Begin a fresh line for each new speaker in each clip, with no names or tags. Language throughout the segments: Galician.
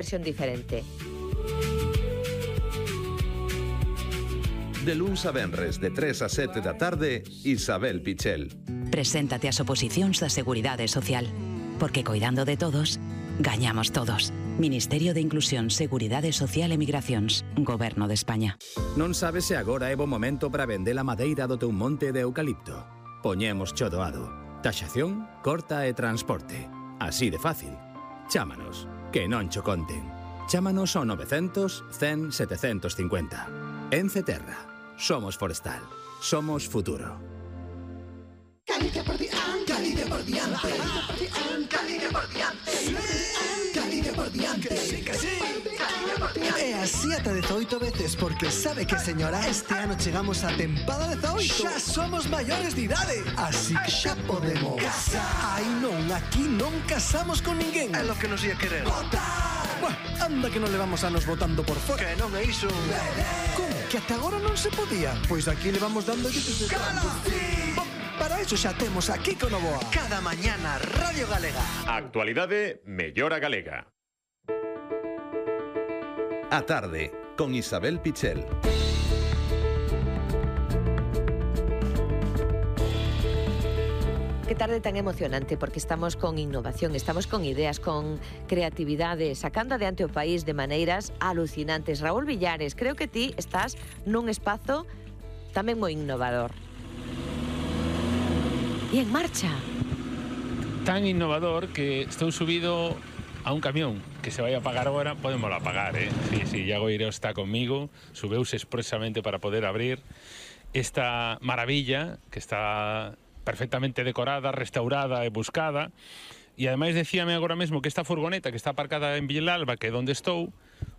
versión diferente.
De luns a venres, de 3 a 7 da tarde, Isabel Pichel.
Preséntate ás oposicións da Seguridade Social. Porque coidando de todos, gañamos todos. Ministerio de Inclusión, Seguridade Social e Migracións. Goberno de España.
Non sabes se agora é bo momento para vender a madeira do teu monte de eucalipto. Poñemos cho doado. Taxación, corta e transporte. Así de fácil. Chámanos, que non cho conten. Chámanos ao 900 100 750. Ence Terra. Somos forestal. Somos futuro.
Galicia por diante, Galicia por diante, Galicia por diante, Galicia por diante, que sí, Galicia por diante. E así ata 18 veces, porque sabe que, señora, este ano chegamos a tempada 18. Xa somos maiores de idade, así que xa podemos casar. Ai non, aquí non casamos con ninguén. É lo que nos ia querer. Votar. Buah, anda que non levamos anos votando por fora. Que non é iso. Como? Que ata agora non se podía? Pois aquí le vamos dando... Para eso xa temos aquí con Novoa. Cada mañana Radio Galega.
Actualidade mellora galega.
A tarde, con Isabel Pichel.
Qué tarde tan emocionante, porque estamos con innovación, estamos con ideas, con creatividade, sacando adiante o país de maneiras alucinantes. Raúl Villares, creo que ti estás nun espazo tamén moi innovador. E en marcha.
Tan innovador que estou subido a un camión que se vai a apagar agora. Podémoslo apagar, Sí, Iago Ireo está conmigo, subeuse expresamente para poder abrir esta maravilla que está perfectamente decorada, restaurada e buscada. E ademais decíame agora mesmo que esta furgoneta que está aparcada en Villalba, que é onde estou,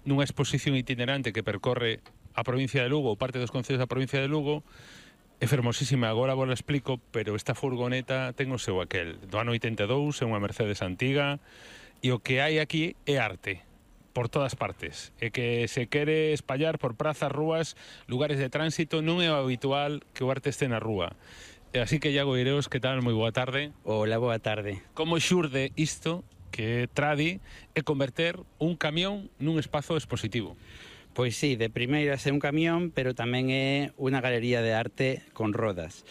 nunha exposición itinerante que percorre a provincia de Lugo, ou parte dos concellos da provincia de Lugo, é fermosísima, agora vos la explico, pero esta furgoneta ten o seu aquel. Do ano 82, é unha Mercedes antiga, e o que hai aquí é arte, por todas partes. E que se quere espallar por prazas, rúas, lugares de tránsito, non é o habitual que o arte este na rúa. Así que, Iago Ireos, que tal? Moi boa tarde.
Hola, boa tarde.
Como xurde isto, que tradi, é converter un camión nun espazo expositivo?
Pois sí, de primeiras é un camión, pero tamén é unha galería de arte con rodas.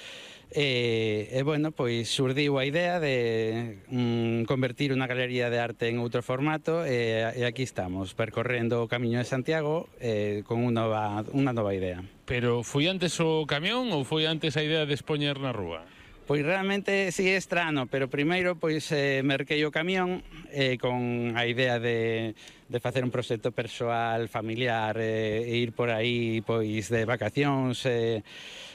Bueno, pois surdiu a idea de convertir unha galería de arte en outro formato e aquí estamos, percorrendo o Camiño de Santiago con unha nova idea.
Pero foi antes o camión ou foi antes a idea de expoñer na rúa?
Pois realmente sí é estrano, pero primeiro pois merquei o camión con a idea de facer un proxecto persoal, familiar e ir por aí pois de vacacións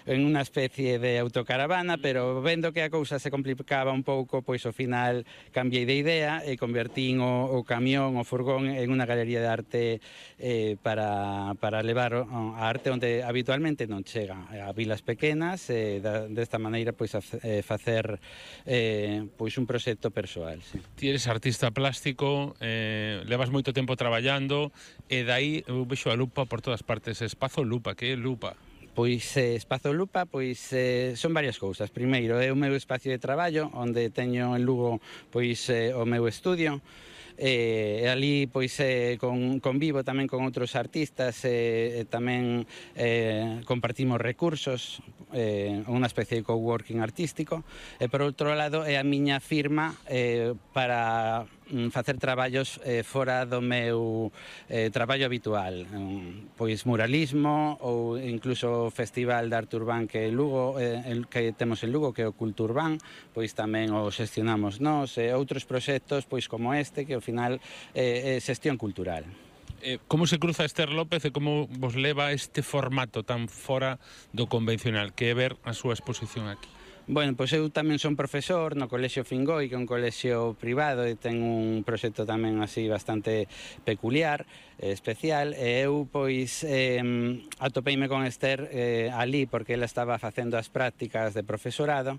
en unha especie de autocaravana, pero vendo que a cousa se complicaba un pouco, pois ao final cambiei de idea e convertín o camión, o furgón en unha galería de arte para levar a arte onde habitualmente non chega, a vilas pequenas, desta maneira pois facer pois un proxecto persoal. Sí.
Ti eres artista plástico, levas moito tempo traballando e dai eu vexo a lupa por todas partes. Espazo Lupa, que é lupa?
Pois Espazo Lupa pois son varias cousas. Primeiro é o meu espacio de traballo onde teño en Lugo pois o meu estudio. E ali pois convivo tamén con outros artistas e tamén compartimos recursos, unha especie de coworking artístico, e por outro lado é a miña firma para facer traballos fora do meu traballo habitual, pois muralismo ou incluso o Festival de Arte Urbán que Lugo, que temos en Lugo, que é o Culturban, pois tamén o xestionamos nós, e outros proxectos pois como este, que ao final é xestión cultural.
Como se cruza Esther López e como vos leva este formato tan fora do convencional, que é ver a súa exposición aquí?
Bueno, pois eu tamén son profesor no Colexio Fingoi, que é un colexio privado e ten un proxecto tamén así bastante peculiar, especial, e eu pois atopeime con Esther ali porque ela estaba facendo as prácticas de profesorado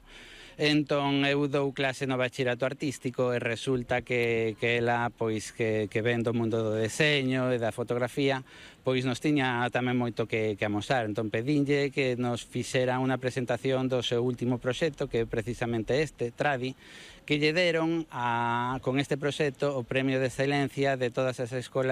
Entón eu dou clase no bachillerato artístico e resulta que ela, pois, que ven do mundo do deseño e da fotografía, pois nos tiña tamén moito que amosar. Entón pedinlle que nos fixera unha presentación do seu último proxecto, que é precisamente este, Tradi, que lle deron con este proxecto o premio de excelencia de todas as escolas